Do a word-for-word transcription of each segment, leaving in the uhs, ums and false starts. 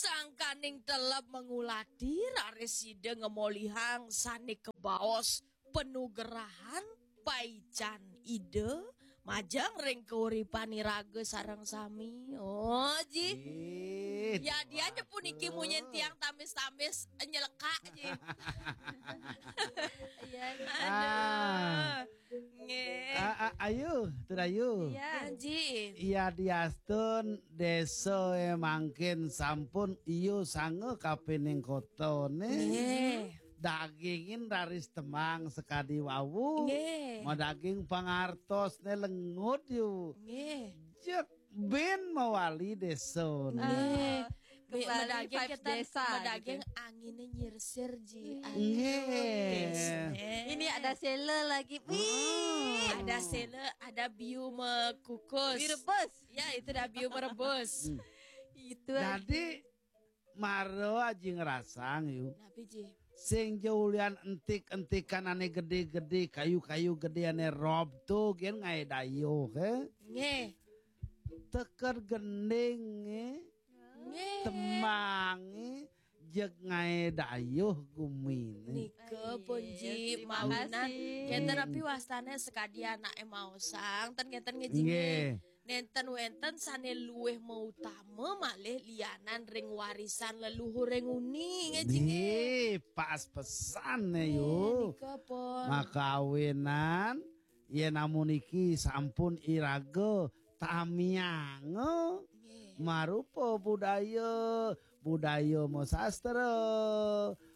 Sangkaning teleb mangulati, raris sida ngemolihang sane kabaos panugerahan paican Ida majeng ring kauripan iraga sareng sami. Oh, ji. Ih, ya, dia aja puniki munyin tiang tamis-tamis nyelekak, ji. Iya, iya. Aduh. Ah. Nggih. Ah, ah, ayu, Turayu. Iya. Nggih. Iya, diastun desa mangkin sampun iyu sanga kapining kotane. Nggih. Dagingin raris temang sakadi wau. Nggih. Madaging pangartosne lengut yu. Nggih. Jeg bin mawali desa. Nggih. Ah, kembali madaging vibes kita, desa, madaging gitu. Angine nyirsir, ji. Nggih. Aduh, ini ada sela lagi. Wih. Hmm. Ada sela, ada biu mekukus. Biu rebus. Ya, itu dah biu merebus. Hmm. Itu. Jadi, mara aji ngrasang, yu. Napi, ji? Sing ja ulian entik-entikan ane gede-gede, kayu-kayu gede ane rob to, gen ngae dayuh, eh. Nggih. Teked gendinge, nggih. Temange, jeg ngae dayuh gumine. Nika pun, ji, terima kasih. Mawinan. Kenten napi wastane sakadi anake maosang, ten kenten nggih, ji. Nggih. Nenten wenten sane luwih mautama malih lianan ring warisan leluhur ring uni, nggih, ji, nggih. Nggih, pas pesan ne, yu. Nggih, nika pun. Makawinan, yen amun iki sampun iraga tamianga, nggih, marupa budaya, budaya masastra,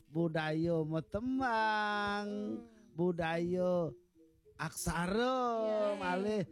budaya matembang, hmm, budaya aksara, nggih, malih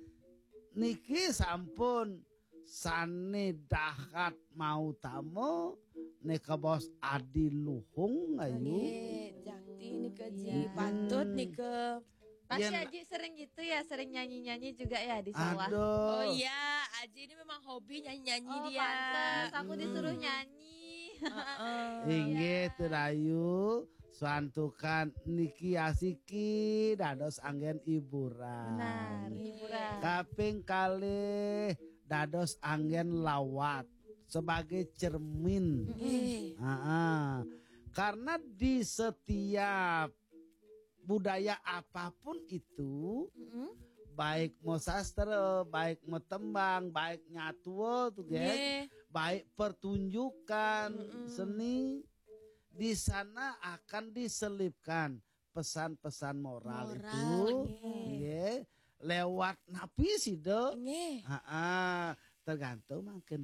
niki sampun sane dahat mautama, nika bos adi luhung, ayu. Nggih, jakti nika, ji. Iya. Patut nika. Pasti yen Aji sering gitu ya, sering nyanyi-nyanyi juga ya di sawah. Aduh. Oh iya, Aji ini memang hobi nyanyi-nyanyi. Oh, dia. Pantes, aku disuruh nyanyi. Heeh. Inggih, Turayu, santukan niki asiki dados anggen hiburan. Benar, hiburan. Kaping kalih dados anggen lawat sebagai cermin. Nggih. Heeh. Karena di setiap budaya apapun itu, mm-mm, baik mau sastra, baik mau tembang, baik nyatua tuh, Gen, nggih, baik pertunjukan, mm-mm, seni, di sana akan diselipkan pesan-pesan moral. Moral, itu, nggih, nggih. Lewat napi sida? Nggih. Heeh, tergantung mangkin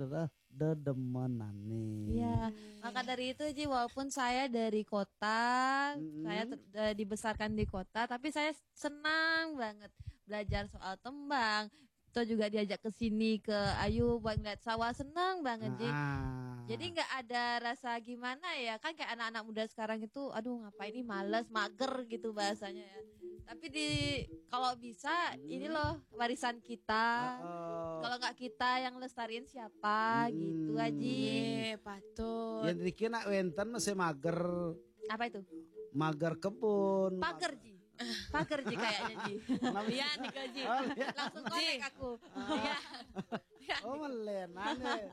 dedemenane. Iya, hmm, maka dari itu, Ji, walaupun saya dari kota, mm-mm, saya ter-, eh, dibesarkan di kota, tapi saya senang banget belajar soal tembang. Atau juga diajak ke sini, ke Ayu, buat ngeliat sawah, senang banget, Ji. Ah. Jadi nggak ada rasa gimana ya, kan kayak anak-anak muda sekarang itu, aduh, ngapain nih, males, mager gitu bahasanya ya. Tapi di, kalau bisa, hmm, ini loh warisan kita. Heeh. Kalau nggak kita yang lestariin siapa, hmm, gitu, Aji. Iya, patut. Yang dikira nak wenten masih mager. Apa itu? Mager kebun. Pager, Ji. Pager, Ji, kayaknya, Ji. Iya, nika, Ji. Oh, iya. Langsung connect aku. Iya. Oh, melen, aneh.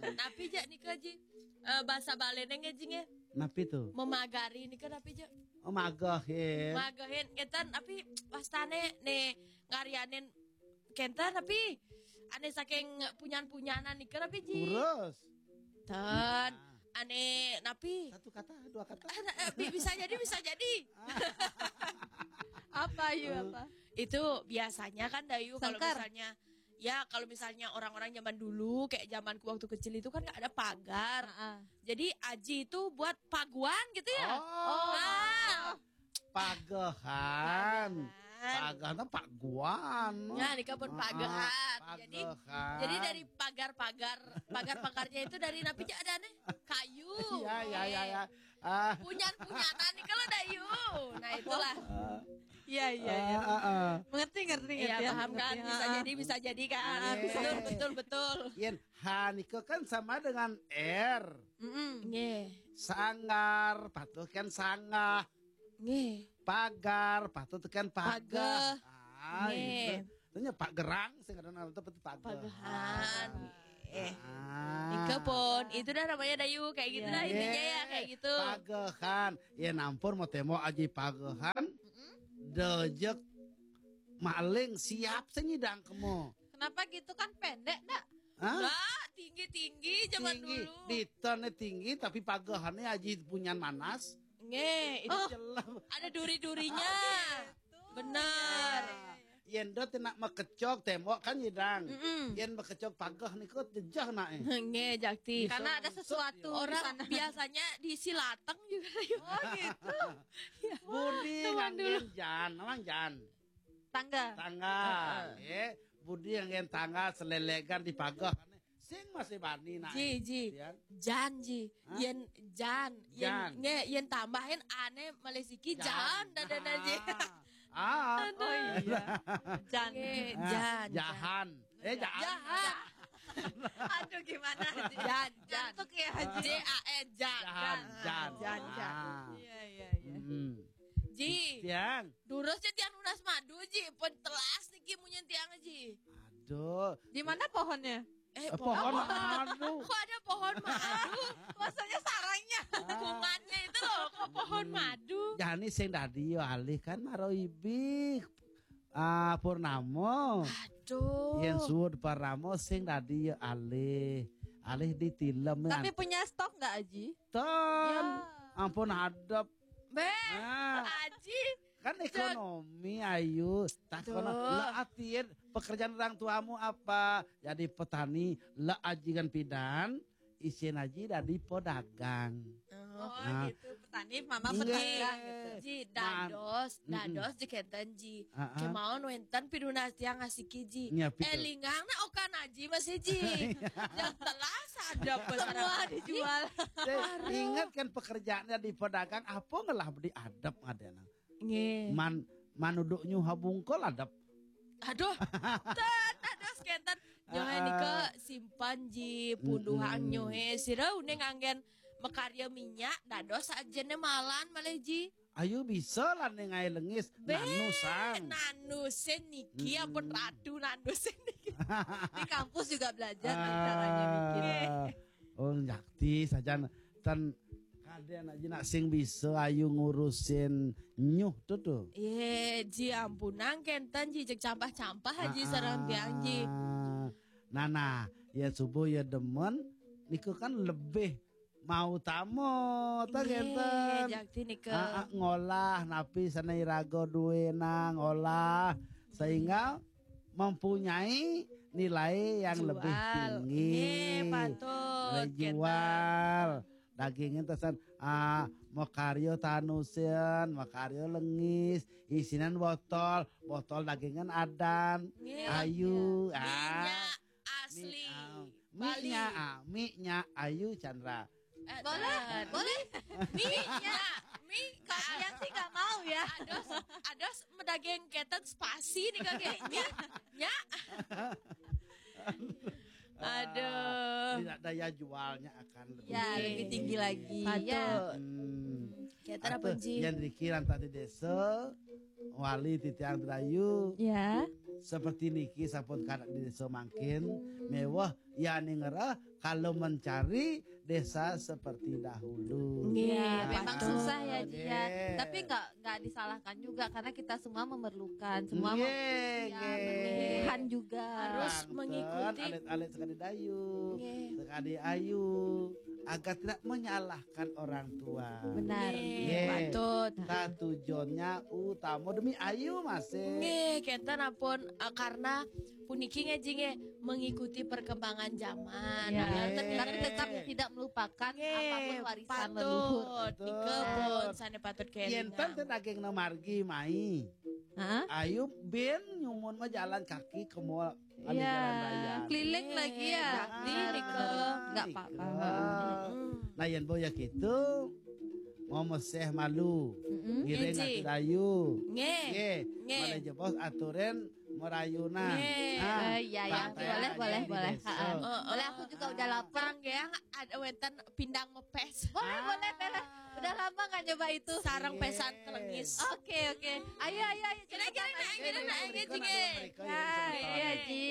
Napi ja nika, Ji? Eh, bahasa Balene nggih, Ji, nggih? Napi tuh? Memagari nika napi ja? Oh, mageh, ya. Magehin, kenten, tapi wastane ne ngaryanin kenten, tapi ane saking punyan-punyanan nika napi, Ji? Kurus. Ten, nah, ane napi? Satu kata, dua kata. Ah, nah, eh, bi-, bisa jadi, bisa jadi. Apa, Yu, apa? Itu biasanya kan, Dayu, kalau sengkar, misalnya, ya, kalau misalnya orang-orang zaman dulu, kayak zamanku waktu kecil itu kan nggak ada pagar. Heeh. Jadi, aji itu buat paguan gitu ya? Oh. Ah. Pagehan. Pagehan. Pagehan, paguan. Ya, nika pun, ah, pagehan. Jadi, pagehan, jadi dari pagar-pagar, pagar-pagarnya itu dari napi ja adane? Kayu. Iya, iya, iya, iya. Ah. Punyan-punyanan nih kalau Dayu. Nah, itulah. Ah. Iya, iya, iya. Ah, ah, ah. Mengerti, ngerti, iya, ngerti, ya, paham kan? Ngerti. Bisa, ah, jadi, bisa jadi kan? Ah, ah, bisa. Betul, betul, betul. Yen, ha, nika kan sama dengan R. Mm-mm. Nggih. Sanggar, patuh kan sanggah. Nggih. Pagar, patuh kan pageh. Pageh. Ah, nggih, gitu. Tanya Pak Gerang, sing ada nama itu pagehan. Pagehan. Ah. Eh. Ah. Nika pun, itu dah namanya Dayu, kayak gitu dah intinya ya, kayak gitu. Pagehan. Ya nampun mau tembok aja pagehan. Dejek maling siap senyidang kemo. Kenapa gitu kan pendek, ndak? Hah? Nggak, tinggi-tinggi zaman dulu. Tinggi. Ditonnya tinggi, tapi pagehannya aja punyan manas. Nge, itu Oh, ada duri-durinya. Benar. Yen dot nak mekecok tembok kan nyidang. Mm-mm. Yen mekecok pageh niku jejeh nak eh. Nge, Jakti. Bisa. Karena ada sesuatu di sana. Orang biasanya di Silateng juga. Oh, gitu. Ya. Budi Zaman dulu. Nganggen jan, emang jan. Tangga. Tangga. Heeh. Nggih. Budi nganggen tangga selelegan di pageh. Sing masih bani nak. Ji, ji. Jan. Jan, ji. Hah? Yen jan, yen Jan. Nge, yen tambahin ane malih siki jan, jan dadana ji. Ah. Ah. Aduh. Oh iya. Jan. Nge, ah, jan, jahan. Jan. Eh, jahan. Jahan. Aduh, gimana, Ji? Jan, jan. Jantuk ya, Ji? J A N, jan. Jahan, jan. Jan, jan. Ah. Iya, iya, iya. Hmm. Ji. Tiang. Durus ya tiang nunas madu, Ji. Pun telas niki munyin tiang, Ji. Aduh. Di mana pohonnya? Eh, pohon madu. Kok ada pohon madu? Maksudnya sarangnya. Lingkungannya itu loh, kok pohon madu? Jani sing dadi ya alih kan maro ibih. Ah, Purnamo. Aduh. Yen suud Purnamo sing dadi ya alih. Alih ditilem. Tapi punya stok nggak, Aji? Ten. Ya. Ampun hadep. Beh, ah. Aji. Kan ekonomi, Ayu. Tak kono. Lah, atin pekerjaan orang tuamu apa? Jadi petani, lah aji kan pidan, isin aji dadi pedagang. Oh, nah, gitu. Petani, mama pedagang gitu. Ji, dados, dados ji kenten ji. Heeh. Kemauan wenten pidunas tiang ngasiki ji. Iya, pitu. Elingang na okan aji masih ji. Yang telas ada semua dijual. Ingat kan pekerjaannya di pedagang, apa ngelah beli adep ngadena. Nggih. Man, manuduk nyuha bungkul adep. Aduh, ten, dados kenten. Nyohe nika simpan ji, punduhang nyohe. Sira uning anggen makarya minyak, dados ajene malan malih ji. Ayu bisa lah ning ae lengis. Be, nanusan. Nanusin niki, ampun ratu nanusin niki. Di kampus juga belajar caranya bikin. Oh, jakti sajan ten kaden aja nak sing bisa ayu ngurusin nyuh tuh tuh. Ye, ji ampunang kenten ji cek campah-campah aja sarang tiang ji. Nah, nah, ya subuh ya demen, niku kan lebih mau tamu, ta kenten. Jakti nika. Ah, ah, ngolah napi sana iraga duwena ngolah sehingga mempunyai nilai yang lebih tinggi. Nggih, patut, nilai jual. Dagingnya tesan ah makarya tanusen, makarya lengis, isinan botol, botol dagingan adan, nggih, ayu, ah. Minyak asli. Mi, ah, Bali. Minyak, ah, minyak ayu Chandra. Eh, boleh, boleh. Minyak, mi kalau yang sih nggak mau ya. Ados, ados medaging keten spasi nih kagak. Minyak. Aduh. Tidak daya jualnya akan lebih tinggi. Ya, lebih tinggi lagi. Patut. Ya. Hmm. Kita ada punji. Yang dikiran tadi desa, wali titiang Dayu. Ya. Seperti niki sampun kanak di desa mangkin, mewah ya ning ngerah kalau mencari desa seperti dahulu. Nggih, ya, memang patut. Susah ya, Ji, ya. Nggih. Tapi nggak nggak disalahkan juga karena kita semua memerlukan, semua nggih, ya, nggih. Berlebihan juga. Harus mengikuti. Alit-alit sekali Dayu, nggih, sekali Ayu, agar tidak menyalahkan orang tua. Benar. Nggih, nggih. Patut. Nah, tujuannya utama demi Ayu masih. Nggih, kenten ampun, eh, karena puniki nggih, Ji, nggih, mengikuti perkembangan zaman. Ya. Nah, tapi tetap tidak melupakan apapun warisan leluhur. Patut. Nika pun sane patut kelingan. Yen ten daging na margi mai. Hah? Ayu ben nyumun mah jalan kaki ke mall. Iya, keliling lagi ya. Di nika. Nggak apa-apa. Nah, yen boya gitu, mau meseh malu. Ngiring ati Dayu. Nggih. Nggih. Nggih. Malah jebos aturin merayunan. Nggih. Ah, eh, iya, iya. Boleh, boleh, boleh. Heeh. Boleh, aku juga udah lapar. Nggih, ada wenten pindang mepes. Boleh, boleh, boleh. Udah lama nggak nyoba itu. Sarang pesan kelengis. Oke, oke. Ayo, ayo, ayo. Kira-kira cepetan, nak, ayo. Kira-kira nak, ayo, Ji, nggih. Ya, iya, Ji.